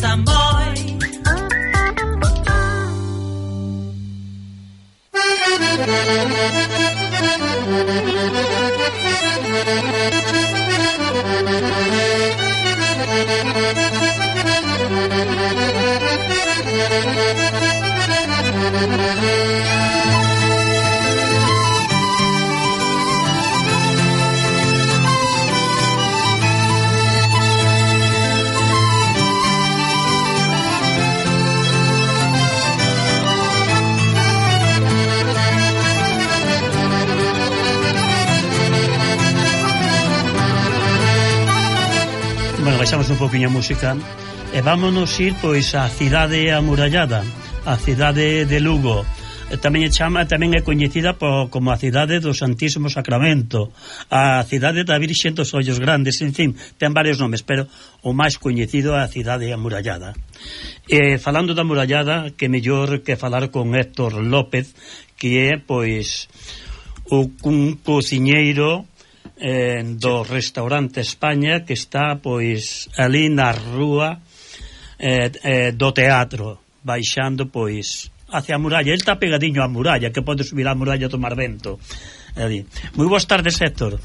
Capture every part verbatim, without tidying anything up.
Samboy. Bueno, baixamos un poquinho a música e vámonos ir pois á cidade amurallada, a cidade de Lugo. Tamén é chama, tamén é coñecida por, como a cidade do Santísimo Sacramento, a cidade da Virxe dos Ollos Grandes, en fin, ten varios nomes, pero o máis coñecido é a cidade amurallada. E falando da amurallada, que mellor que falar con Héctor López, que é pois o, un cociñeiro eh, do restaurante España, que está pois ali na rúa eh, eh, do teatro, baixando pois hacia a muralla. El está pegadiño á muralla, que pode subir á muralla a tomar vento ali. Moi boas tardes, Héctor.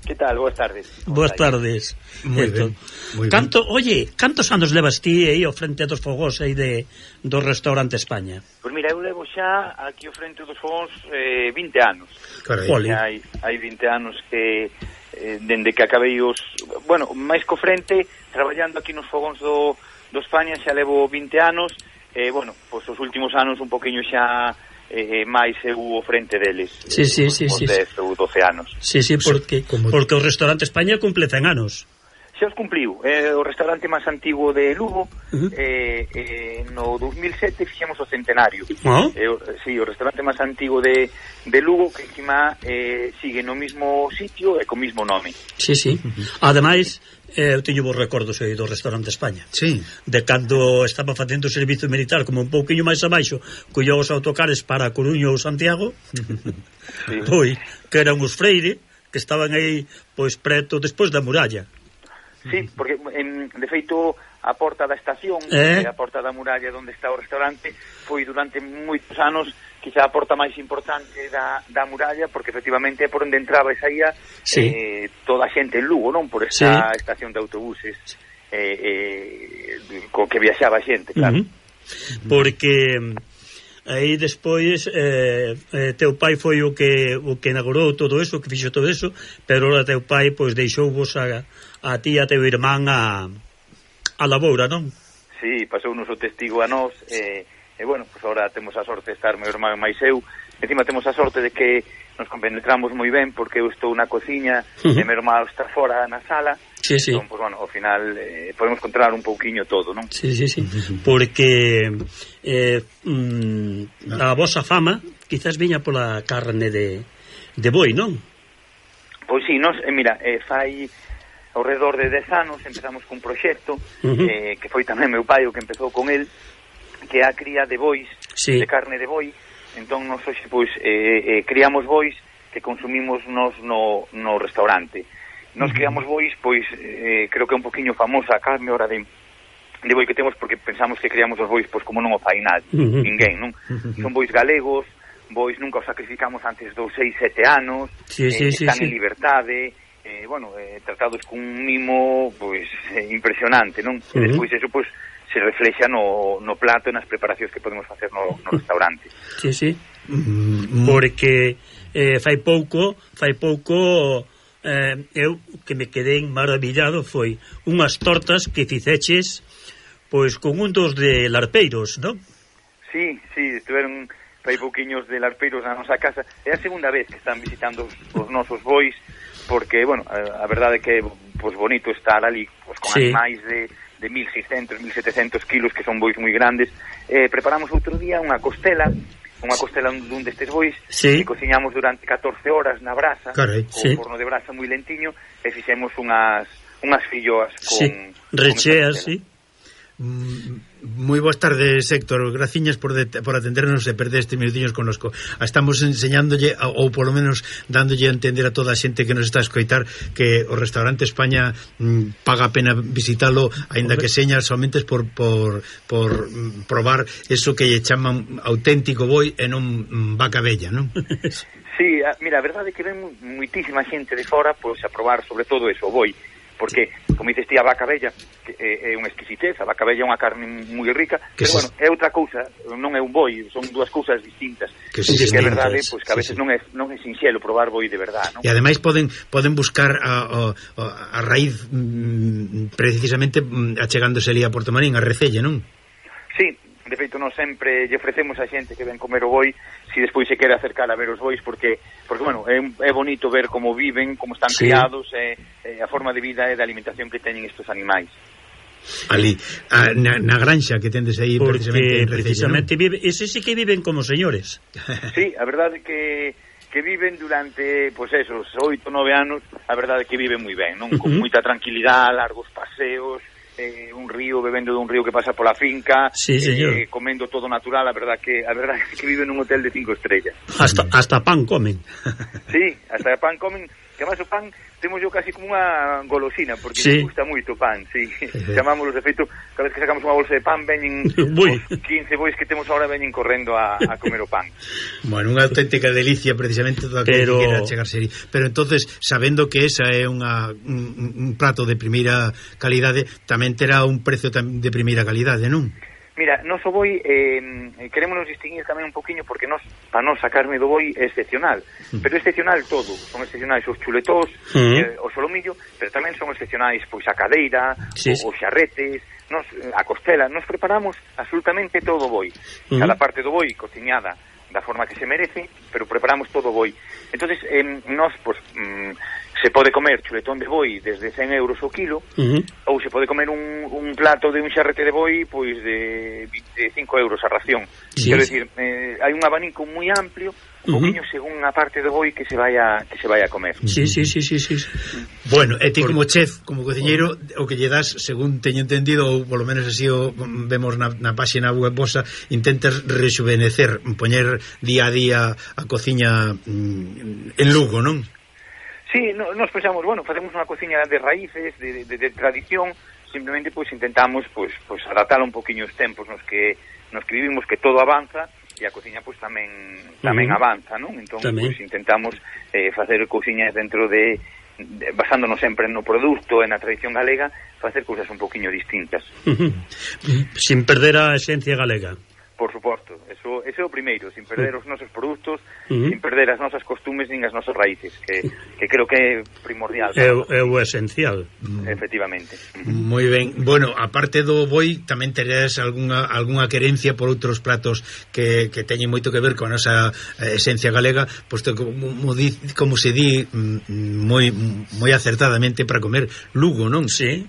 Que tal? Boas tardes. Boas tardes, moi Héctor. ben, moi Canto, oye, cantos anos levas ti aí ao frente dos fogóns aí de, do restaurante España? Pois mira, eu levo xa aquí ao frente dos fogóns eh, vinte anos. Carai. Hai, hai vinte anos que eh, dende que acabei os... Bueno, máis co frente, traballando aquí nos fogóns do, do España, xa levo vinte anos. Eh, bueno, pois os últimos anos un poquinho xa eh, máis eu o frente deles. Sí, sí, eh, sí, os sí. dez ou doce anos. Sí, sí, porque, Como... porque o restaurante España cumple cen anos. Xa os cumpliu. É eh, o restaurante máis antigo de Lugo. Uh-huh. eh, eh, no dos mil sete fixemos o centenario. Oh. Eh, sí, o restaurante máis antigo de, de Lugo, que encima eh, sigue no mismo sitio e co mismo nome. Sí, sí. Uh-huh. Ademais, eh, eu teño vos recordos aí do restaurante España. Sí. De cando estaba facendo o servizo militar, como un pouquiño máis abaixo, collou os autocares para a Coruña ou Santiago. Sí. Pois, que eran os freire, que estaban aí, pois, preto, despois da muralla. Sí, porque en, de feito a porta da estación, eh? a porta da muralla onde está o restaurante, foi durante moitos anos quizá a porta máis importante da, da muralla, porque efectivamente é por onde entraba e saía sí. eh, toda a xente en Lugo, non? Por esta sí. estación de autobuses eh, eh, co que viaxaba a xente, claro. Uh-huh. Porque aí despois eh, eh, teu pai foi o que o que inaugurou todo eso, que fixo todo eso, pero ora teu pai pois deixou vos a, a ti e a teu irmán a, a laboura, non? Sí, pasou nos o testigo a nós e, e bueno, pois pues agora temos a sorte de estar meu irmán máis eu. Encima temos a sorte de que nos compenetramos moi ben, porque eu estou na cociña uh-huh. e meu irmán está fora na sala. Sí, sí. Entón, pues, bueno, ao final eh, podemos controlar un pouquiño todo, non? Sí, sí, sí. Porque eh, mm, a vosa fama quizás viña pola carne de, de boi, non? Pois sí, nos, eh, mira, eh, fai ao redor de dez anos empezamos cun proxecto uh-huh. eh, que foi tamén meu pai o que empezou con el, que é a cría de bois, sí. de carne de boi. Entón, nos hoxe, pois, eh, eh, criamos bois que consumimos nos no, no restaurante. Nos criamos bois, pois, eh, creo que é un poquinho famosa a carne hora de, de boi que temos, porque pensamos que criamos os bois, pois, como non o fai nadie, uh-huh. ninguén, non? Uh-huh. Son bois galegos, bois nunca os sacrificamos antes dos seis, sete anos, sí, sí, eh, sí, están sí. en liberdade, eh, bueno, eh, tratados cun mimo, pois, eh, impresionante, non? Uh-huh. E despois eso, pois, se reflexa no, no plato e nas preparacións que podemos facer no, no restaurante. Sí, sí. Mm-hmm. Porque eh, fai pouco, fai pouco eh, eu que me quedei maravillado foi unhas tortas que ficeches pois con un dos de Larpeiros, non? Sí, sí, estiveron fai pouquiños de Larpeiros na nosa casa. É a segunda vez que están visitando os, os nosos bois, porque, bueno, a, a verdade é que pois bonito estar ali pois, con sí. animais de de mil seiscentos, mil setecientos kilos, que son bois moi grandes. Eh, preparamos outro día unha costela, unha costela dun destes bois, sí. que cociñamos durante catorce horas na brasa, Caray, con sí. forno de brasa moi lentiño, e fixemos unhas unhas filloas con... Sí, recheas, sí. Moi boas tardes, Héctor. Graciñas por, de, por atendernos e perder estes minutinhos connosco. Estamos enseñándolle, ou polo menos dándolle a entender a toda a xente que nos está a escoitar, que o restaurante España mm, paga a pena visitalo, aínda que señas somente por, por, por mm, probar eso que lle chaman auténtico boi e non mm, vaca bella, non? Sí, mira, a verdade é que ven muitísima xente de fora pois a probar sobre todo eso, o boi, porque, como dices ti, a vaca bella que é, é unha exquisitez, a vaca bella é unha carne moi rica, pero, se... bueno, é outra cousa, non é un boi, son dúas cousas distintas. Que, sí, que é verdade, pois, que a veces sí, sí. non é non é sinxelo probar boi de verdade, non? E ademais poden poden buscar a, a, a raíz mm, precisamente mm, achegándose ali a Porto Marín, a Recelle, non? Sí, de feito, nós sempre lle ofrecemos a xente que ven comer o boi, si despois se quere acercar a ver os bois, porque, porque bueno, é, é bonito ver como viven, como están sí. criados, e, e a forma de vida e de alimentación que teñen estes animais. Ali, a, na, na granxa que tendes aí, porque precisamente, precisamente ¿no? vive, ese sí que viven como señores. Sí, a verdade é que que viven durante, pois pues esos oito, nove anos, a verdade é que viven moi ben, non? Con uh -huh. moita tranquilidade, largos paseos, eh, un río, bebendo dun río que pasa pola finca, sí, eh, comendo todo natural, a verdade que a verdade é que viven nun hotel de cinco estrellas. Hasta hasta pan comen. Sí, hasta pan comen, que máis o pan temos yo casi como unha golosina, porque sí. nos gusta moito o pan, sí. Chamámoslos, de feito, cada vez que sacamos unha bolsa de pan veñen os quince bois que temos agora veñen correndo a, a comer o pan. Bueno, unha auténtica delicia precisamente toda que Pero... quera chegarse aí. Pero entonces, sabendo que esa é unha un, un prato de primeira calidade, tamén terá un precio de primeira calidade, non? Mira, nos o boi eh, queremos nos distinguir tamén un poquinho porque nos, para nos a carne do boi é excepcional, mm. pero excepcional todo, son excepcionais os chuletós, mm. eh, o solomillo, pero tamén son excepcionais pois a cadeira, sí. os xarretes, nos, a costela, nos preparamos absolutamente todo o boi, mm. cada parte do boi cociñada da forma que se merece, pero preparamos todo o boi. Entonces, eh, nos, pues, mm, se pode comer chuletón de boi desde cen euros o kilo, uh -huh. ou se pode comer un, un plato de un xarrete de boi pois de vinte e cinco euros a ración. Sí, Quero sí. decir, eh, hai un abanico moi amplio, un uh -huh. poquinho según a parte do boi que se vai a que se vai a comer. Sí, sí, sí, sí, sí. Bueno, e ti como chef, como cociñeiro, o que lle das, según teño entendido, ou polo menos así o vemos na, na páxina web vosa, intentas rexuvenecer, poñer día a día a cociña mm, en Lugo, non? Sí, no, nos pensamos, bueno, facemos unha cociña de raíces, de, de, de tradición, simplemente pois intentamos pois pois adaptar un poquinho os tempos nos que nos que vivimos, que todo avanza e a cociña pois tamén tamén uh -huh. avanza, non? Entón pois intentamos eh, facer cociñas dentro de, de basándonos sempre no produto e na tradición galega, facer cousas un poquinho distintas. Uh -huh. Sin perder a esencia galega. Por suposto, eso, eso é o primeiro, sin perder os nosos produtos, uh -huh. sin perder as nosas costumes nin as nosas raíces, que, que creo que é primordial. É, é o esencial. Efectivamente. Moi ben. Bueno, aparte do boi, tamén teres algunha, algunha querencia por outros platos que, que teñen moito que ver con a nosa esencia galega, posto como, como se di moi, moi acertadamente para comer Lugo, non? Sí.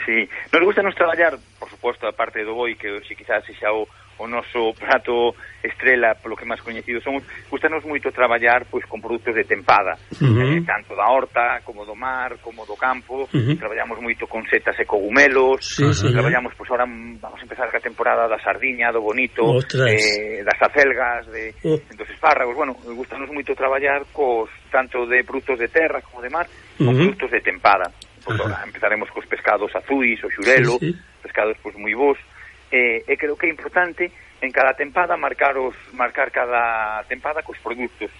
Sí. Nos gusta nos traballar, por suposto, a parte do boi, que se quizás xa o o noso prato estrela, polo que máis coñecido somos, gustanos moito traballar pois con produtos de tempada, uh -huh. eh, tanto da horta, como do mar, como do campo. Uh -huh. Traballamos moito con setas e cogumelos, sí, sí, traballamos, pois ahora vamos a empezar a temporada da sardiña, do bonito, eh, das acelgas, de, uh. dos espárragos. Bueno, gustanos moito traballar cos tanto de produtos de terra como de mar, con uh -huh. produtos de tempada. Pois ahora empezaremos cos pescados azuis, o xurelo, sí, sí. pescados pois moi bons. Eh, e creo que é importante en cada tempada marcar os marcar cada tempada cos produtos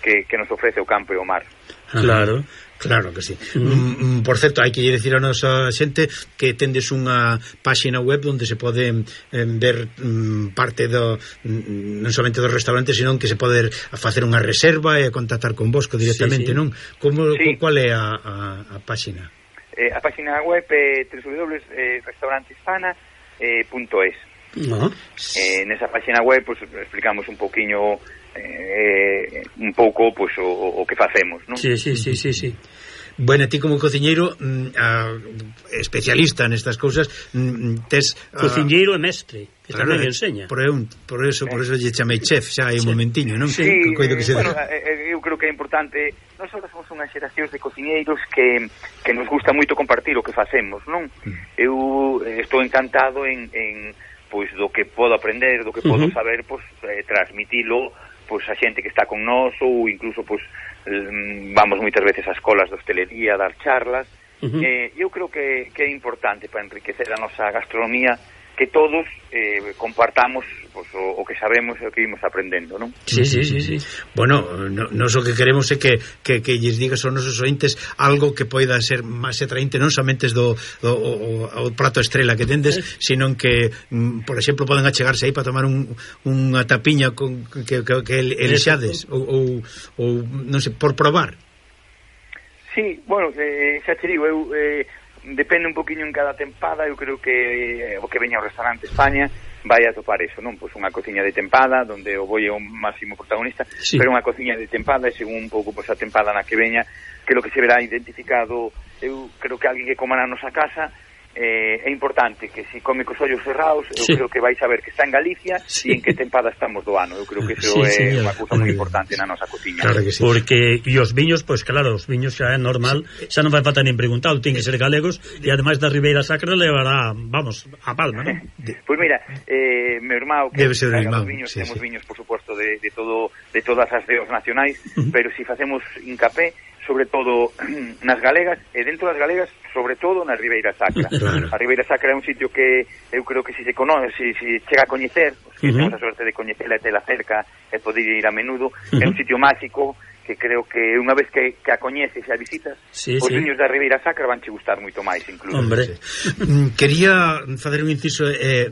que, que nos ofrece o campo e o mar. Claro, claro que sí. Mm. Mm, por certo, hai que dicir a nosa xente que tendes unha páxina web onde se pode eh, ver mm, parte do mm, non somente dos restaurantes, senón que se pode facer unha reserva e contactar con vosco directamente, sí, sí. non? Como, sí. Qual é a, a, a páxina? Eh, a páxina web é w w w punto restaurantesfana punto es. Uh -huh. eh, nesa página web pues, explicamos un poquinho eh, un pouco pues, o, o que facemos, non? Sí, sí, sí, sí, sí. Bueno, ti como cociñeiro mm, a, especialista nestas cousas, mm, tes cociñeiro e mestre, que claro, tamén enseña. Por, un, por eso, por eso lle chamei chef xa hai un sí. momentiño, non? Sí, que, que, que bueno, eu creo que é importante. Nós ahora somos unha xeración de cociñeiros que, que nos gusta moito compartir o que facemos, non? Mm. Eu estou encantado en, en pois do que podo aprender, do que podo uh -huh. saber, pois eh, transmitilo pois a xente que está con nós, ou incluso pois vamos moitas veces ás escolas de hostelería, dar charlas. Uh -huh. eh, eu creo que, que é importante para enriquecer a nosa gastronomía que todos eh, compartamos pues, o, o que sabemos e o que vimos aprendendo, non? Sí, sí, sí, sí. Bueno, no, nos o que queremos é que, que, que lles digas aos nosos ointes algo que poida ser máis atraente, non somente do, do o, o prato estrela que tendes, eh. sino que, por exemplo, poden achegarse aí para tomar un, unha tapiña con, que, que, que elixades ou, ou, ou, non sei, por probar. Sí, bueno, eh, xa te digo, eu... Eh, depende un poquinho en cada tempada. Eu creo que eh, o que veña ao restaurante España vai a topar eso, non? Pois unha cociña de tempada onde o boi é o máximo protagonista, sí. pero unha cociña de tempada e según un pouco pois a tempada na que veña, que lo que se verá identificado. Eu creo que alguén que coma na nosa casa eh, é importante que se come cos ollos cerrados, eu sí. creo que vai saber que está en Galicia sí. e en que tempada estamos do ano. Eu creo que eso sí, é unha cousa moi importante na nosa cociña. Claro que sí. Porque e os viños, pois pues, claro, os viños xa é normal, sí. xa non vai falta nin preguntado, ten que ser galegos e ademais da Ribeira Sacra levará, vamos, a palma, non? Pois pues mira, eh, meu irmão que debe ser irmão, viños, sí, temos sí. viños, por suposto, de, de todo de todas as deos nacionais, uh -huh. pero si facemos incapé sobre todo nas galegas e dentro das galegas, sobre todo na Ribeira Sacra. Claro. A Ribeira Sacra é un sitio que eu creo que si se conoce, si, si chega a coñecer, os que uh -huh. temos a sorte de coñecela e tela cerca e poder ir a menudo, uh -huh. é un sitio máxico que creo que unha vez que, que a coñeces e a visitas, sí, os sí. viños da Ribeira Sacra van che gustar moito máis, incluso. Hombre, quería facer un inciso e eh,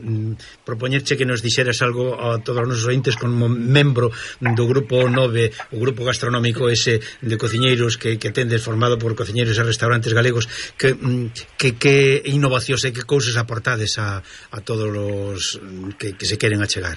propoñerche que nos dixeras algo a todos os nosos ointes como membro do grupo nove, o grupo gastronómico ese de cociñeiros que, que tendes formado por cociñeiros e restaurantes galegos, que, que, que innovacións e que cousas aportades a, a todos os que, que se queren achegar.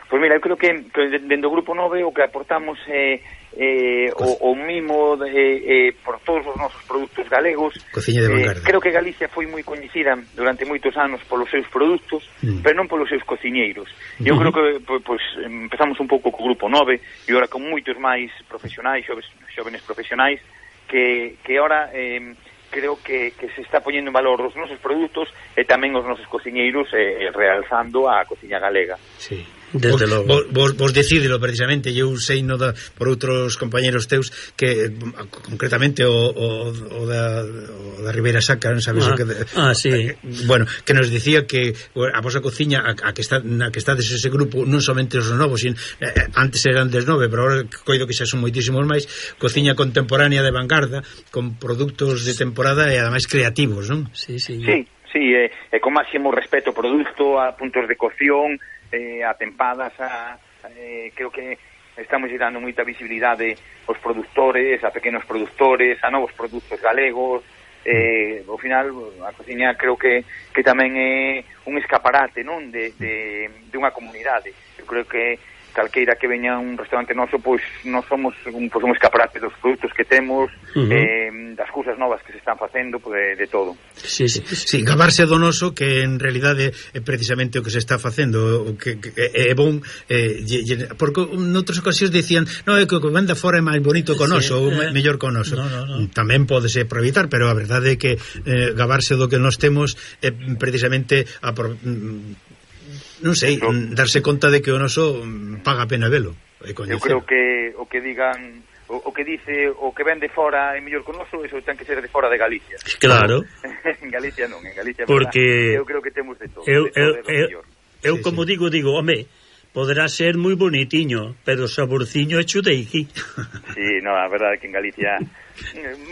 Pois mira, eu creo que, que dentro do grupo nove o que aportamos é eh, o, o mimo de, eh, por todos os nosos produtos galegos. Cociña de vanguardia. Eh, creo que Galicia foi moi coñecida durante moitos anos polos seus produtos, mm. pero non polos seus cociñeiros. Eu mm. creo que pois, pues, empezamos un pouco co grupo nove e agora con moitos máis profesionais, xoves, xovenes profesionais que, que ahora eh, creo que, que se está poñendo en valor os nosos produtos e tamén os nosos cociñeiros eh, realzando a cociña galega. Sí. Desde vos, logo. Vos, vos decidilo precisamente. Eu sei no da, por outros compañeros teus que concretamente o, o, o, da, o da Ribeira Sacra, non sabes ah, o que ah, sí. eh, bueno, que nos dicía que a vosa cociña a, a que está na que estades ese grupo non somente os novos, sin, eh, antes eran des nove, pero agora coido que xa son moitísimos máis, cociña contemporánea de vanguarda con produtos de temporada e ademais creativos, non? Sí, sí. Sí, sí, e eh, eh, con máximo respeto ao produto, a puntos de cocción, eh, a tempadas, a, eh, creo que estamos dando moita visibilidade aos produtores, a pequenos produtores, a novos produtos galegos. Eh, ao final a cociña creo que, que tamén é un escaparate, non, de, de, de unha comunidade. Eu creo que calqueira que veña a un restaurante noso, pois non somos un, pois, un escaparate dos produtos que temos, uh -huh. eh, das cousas novas que se están facendo, pois, de, de todo. Sí, sí, sí, gabarse do noso, que en realidade é precisamente o que se está facendo, o que, que é bon, eh, porque noutras ocasións dicían, no, é que o que vende fora é máis bonito que o noso, sí, ou eh, mellor que o noso. No, no, no. Tamén podese aproveitar, pero a verdade é que eh, gabarse do que nos temos é precisamente a por, non sei, no. darse conta de que o noso paga a pena velo. Eu creo que o que digan, o, o que dice o que vende fora é mellor que o noso, eso ten que ser de fora de Galicia. Claro. En Galicia non, en Galicia porque verdad, eu creo que temos de todo. Eu, de todo eu, eu, eu sí, como sí. digo, digo, home, poderá ser moi bonitiño, pero o saborciño é chuteiqui. Sí, no, a verdade é que en Galicia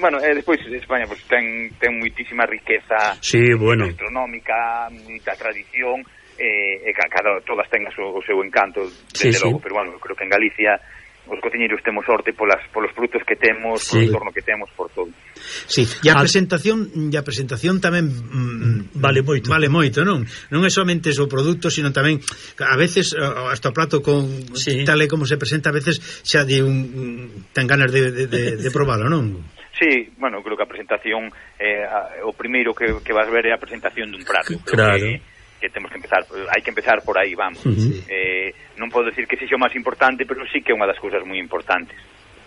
bueno, e despois España pues, ten, ten moitísima riqueza sí, bueno. gastronómica, moita tradición, e eh, cada todas ten o seu, o seu encanto, sí, desde logo, sí. pero bueno, creo que en Galicia os cociñeiros temos sorte polas polos produtos que temos, sí. polo entorno que temos, por todo. Sí, e a presentación, e a presentación tamén mm, vale moito. Vale moito, non? Non é somente o produto, sino tamén a veces hasta o plato con sí. tal e como se presenta, a veces xa de un ten ganas de, de, de, de probalo, non? Sí, bueno, creo que a presentación eh, a, o primeiro que, que vas ver é a presentación dun prato. Claro. Que, que temos que empezar, hai que empezar por aí, vamos. Uh-huh. eh, non podo decir que sexa o máis importante, pero sí que é unha das cousas moi importantes.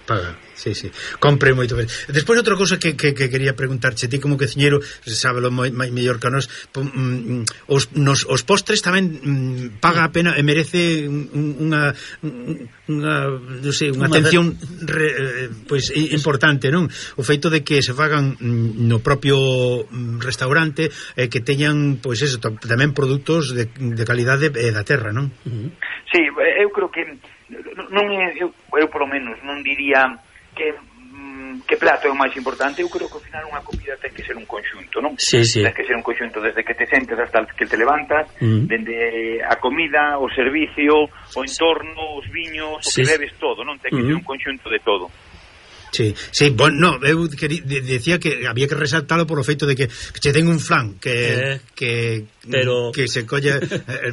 Paga, sí, sí. Compre moito ben. Despois outra cousa que, que, que quería preguntarche, ti como cociñeiro, sábelo moi, moi mellor que a nos, um, os, nos, os postres tamén um, paga a pena e merece unha unha, non sei, unha atención re, pois importante, non? O feito de que se fagan um, no propio restaurante eh, que teñan, pois eso, tamén produtos de, de calidade eh, da terra, non? Uh-huh. Sí, eu creo que non é, eu, eu polo menos non diría que mm, que plato é o máis importante. Eu creo que ao final unha comida ten que ser un conxunto, non? Sí, sí. Ten que ser un conxunto desde que te sentes hasta que te levantas, mm. dende a comida, o servicio, o entorno, os viños, sí. O que bebes, todo, non? Ten que mm. ser un conxunto de todo. Sí, sí, bueno, no, eu quería, decía que había que resaltalo por o feito de que, que che ten un flan que, eh, que, pero... que se colle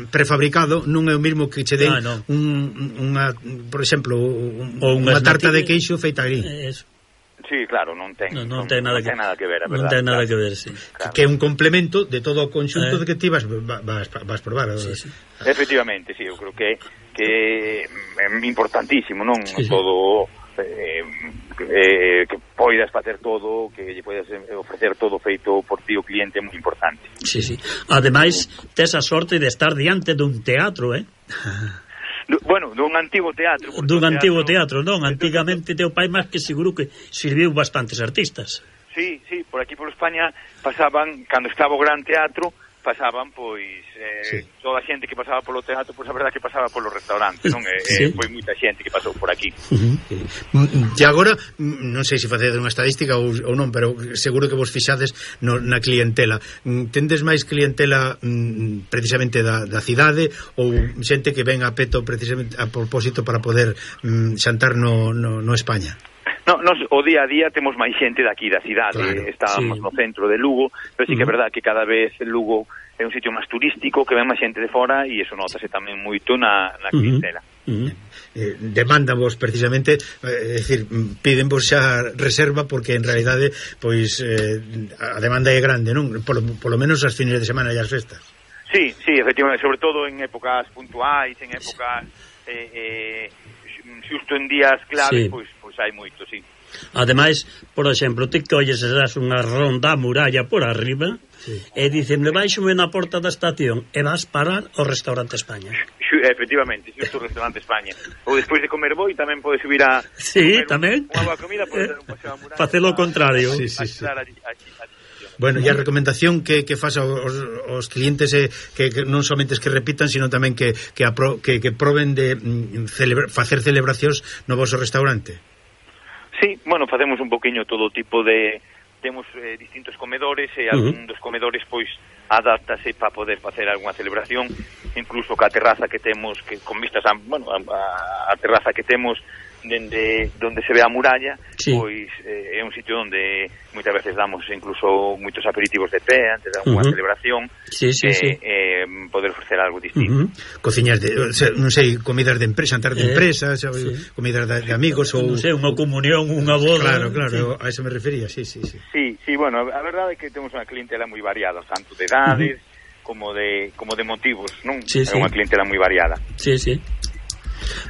prefabricado, non é o mesmo que che den ah, no. un, unha, por exemplo, un, unha tarta de queixo feita ali. Eso. Sí, claro, non ten, no, non, non, ten, nada, non que, ten nada que ver, a verdade. Non ten nada claro. que ver, sí. Claro. Que é un complemento de todo o conxunto eh. de que ti vas, vas, vas probar. Sí, sí. Efectivamente, sí, eu creo que que é importantísimo, non? Sí, sí. Todo eh, eh, que poidas facer todo, que lle poidas ofrecer todo feito por ti o cliente é moi importante. Sí, sí. Ademais, tes a sorte de estar diante dun teatro, eh? Bueno, dun antigo teatro. Dun antigo teatro, non? Antigamente teu pai máis que seguro que sirviu bastantes artistas. Sí, sí, por aquí por España pasaban, cando estaba o Gran Teatro, pasaban, pois, eh, sí. toda a xente que pasaba polo teatro, pois a verdade que pasaba polo restaurante, non? E, sí. eh, foi moita xente que pasou por aquí. Uh-huh. E agora, non sei se facedes unha estadística ou, ou non, pero seguro que vos fixades no, na clientela. Tendes máis clientela mm, precisamente da, da cidade ou xente que ven a peto precisamente a propósito para poder mm, xantar no, no, no España? No, nos, o día a día temos máis xente daqui da cidade, claro, estábamos sí. no centro de Lugo, pero sí que é verdad que cada vez Lugo é un sitio máis turístico, que ven máis xente de fora e iso notase tamén moito na, na clientela. Uh -huh. eh, Demándavos precisamente, é eh, dicir, pídenvos xa reserva porque en realidade pois eh, a demanda é grande, non? Polo, polo menos as fines de semana e as festas. Sí, sí, efectivamente, sobre todo en épocas puntuais, en épocas eh, eh, xusto en días clave, sí. pois, pois hai moito, sí. Ademais, por exemplo, ti colles e das unha ronda a muralla por arriba, sí. e dicen, baixome na porta da estación e vas parar ao restaurante España. Efectivamente, xusto o restaurante España. Ou despois de comer boi tamén podes subir a sí, tamén unha boa comida, podes dar un paseo a muralla. Facelo o contrario. Sí, sí, sí. Allí, allí, allí. Bueno, e a recomendación que, que faz aos, aos clientes é que, que non somente es que repitan, sino tamén que, que, apro, que, que proben de mm, celebra, facer celebracións no vosso restaurante. Sí, bueno, facemos un poquinho todo tipo de... Temos eh, distintos comedores e algún uh -huh. dos comedores pois adáptase para poder facer algunha celebración, incluso ca terraza que temos, que con vistas a, bueno, a, a terraza que temos dende donde se ve a muralla, sí. pois eh, é un sitio onde moitas veces damos incluso moitos aperitivos de pé antes de alguna uh -huh. celebración, sí, sí, eh, sí. eh, poder ofrecer algo distinto. Uh -huh. Cociñas de, non sei, comidas de empresa, jantar de eh, empresa, sí. comidas de, de amigos ou non sei, unha comunión, unha boda. Claro, claro, sí. A eso me refería, sí, sí, sí. Sí, sí, bueno, a verdade é que temos unha clientela moi variada, tanto de edades uh -huh. como de como de motivos, non? Sí, é sí. unha clientela moi variada. Sí, sí.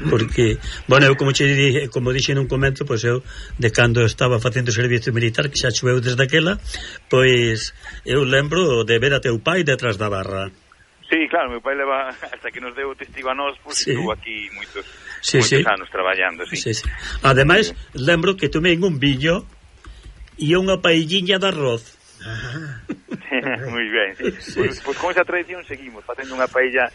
Porque, bueno, eu como che dije, como dixe nun comento, pois eu de cando estaba facendo servicio militar, que xa choveu desde aquela, pois eu lembro de ver a teu pai detrás da barra. Sí, claro, meu pai leva hasta que nos deu o testigo a nós, pois sí. estuvo aquí moitos, sí, moitos sí. anos traballando, sí. Sí, sí. Ademais, sí. lembro que tomei un viño e unha paelliña de arroz. Moi ben, sí. sí. Pois, pois con esa tradición seguimos facendo unha paella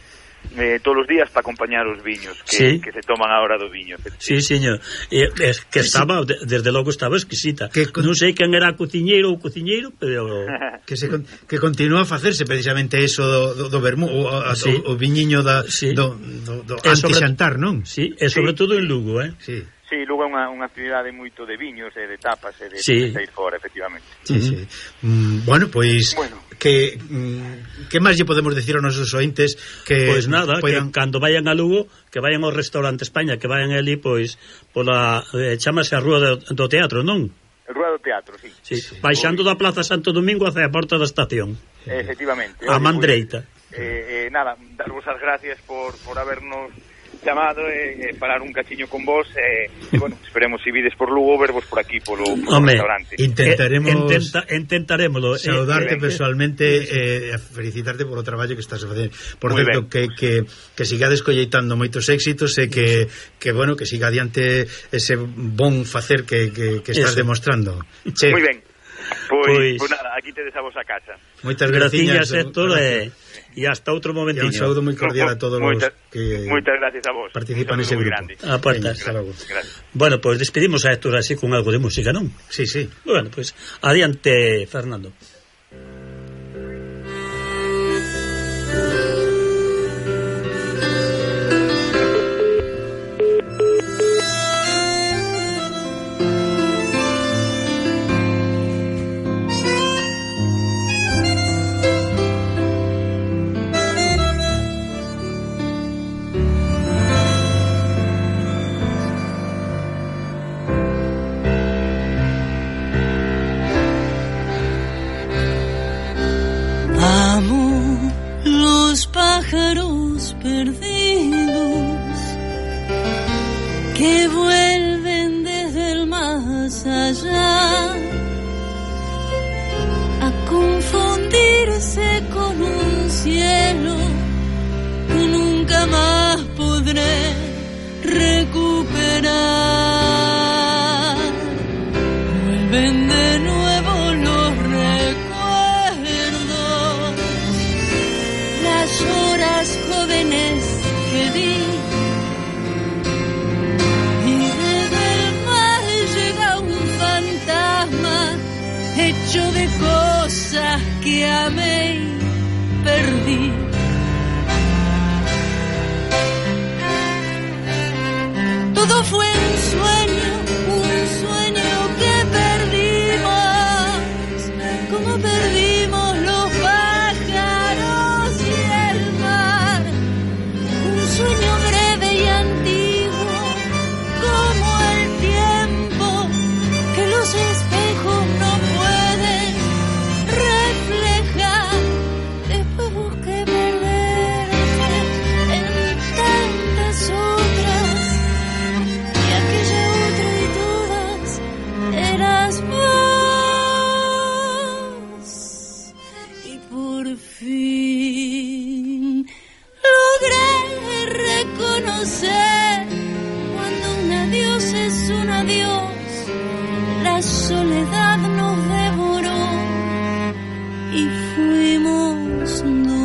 Eh, todos os días para acompañar os viños que, sí. que se toman a hora do viño. Sí, señor. Eh, es que estaba, sí. desde logo estaba exquisita. Que con... Non sei quen era cociñeiro ou cociñeiro, pero que se que continúa a facerse precisamente eso do, do, do vermú, o, a, sí. o, o viñiño da sí. do, do, do anti-xantar, non? Sí, e sobre sí. todo en Lugo, eh? Sí. Sí, Lugo é unha, unha actividade moito de viños e de tapas e de, sí. de ir fora, efectivamente. Sí, uh -huh. sí. Mm, bueno, pois pues, bueno. que mm, que máis lle podemos decir aos nosos ointes que pois pues nada, puedan... que cando vayan a Lugo, que vayan ao restaurante España, que vayan ali pois pola eh, chámase a Rúa do, do Teatro, non? Rúa do Teatro, sí. Sí, sí. Baixando da Plaza Santo Domingo hacia a porta da estación. Efectivamente. A man dereita. Eh, eh, nada, darvos as gracias por, por habernos chamado e eh, falar un cachiño con vos e eh, bueno, esperemos si vides por Lugo vervos por aquí polo, polo Home, restaurante. Intentaremos eh, intenta, intentaremoslo saudarte eh, personalmente e eh, felicitarte por o traballo que estás a facer. Por certo, que, que, que sigades colleitando moitos éxitos e que, que bueno, que siga adiante ese bon facer que, que, que estás Eso. demostrando. Che. Moi ben. Pois, pois, pois nada, aquí tedes a vosa casa. Moitas graciñas, Héctor, e e hasta outro momentinho. E un saúdo moi cordial a todos moitas, os que moitas gracias a vos. Participan nese grupo. A portas. Bueno, pois pues despedimos a Héctor así con algo de música, non? Sí, sí. Bueno, pois pues, adiante, Fernando. Pájaros perdidos que vuelven desde el más allá a confundirse con un cielo que nunca más podré recuperar. Vuelven de nuevo los recuerdos, las horas jóvenes que di, y desde el mar llega un fantasma hecho de cosas que amé y perdí. Todo fue un sueño, un sueño que perdimos, como perdimos los pájaros y el mar. Un sueño breve y antiguo, como el tiempo que los espejos no pueden reflejar. Después busqué perderte en tantas otras, y aquella otra y todas eras vos. Y por fin logré reconocer cuando un adiós es un adiós. La soledad nos devoró y fuimos dos.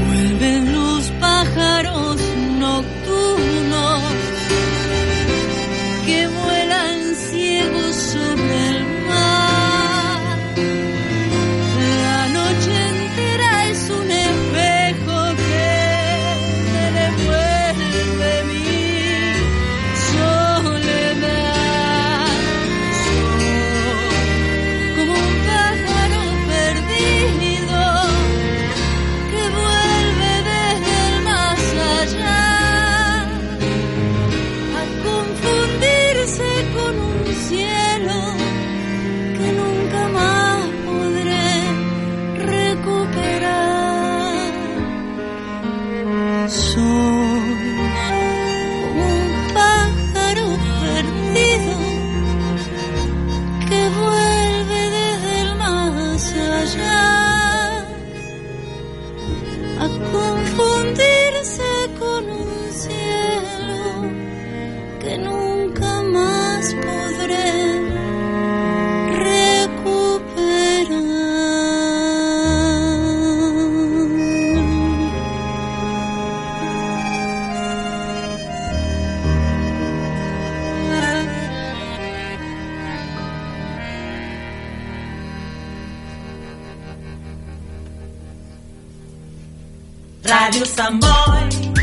Vuelven los pájaros nocturnos que vuelan ciegos sobre el mar. La noche entera es un espejo que me devuelve mi soledad. Soy como un pájaro perdido que vuelve desde el más allá a confundirse con un cielo que nunca más podré recuperar. Soy como un pájaro perdido que vuelve desde el más allá a confundirse con un cielo que nunca más podré recuperar. Radio Samboy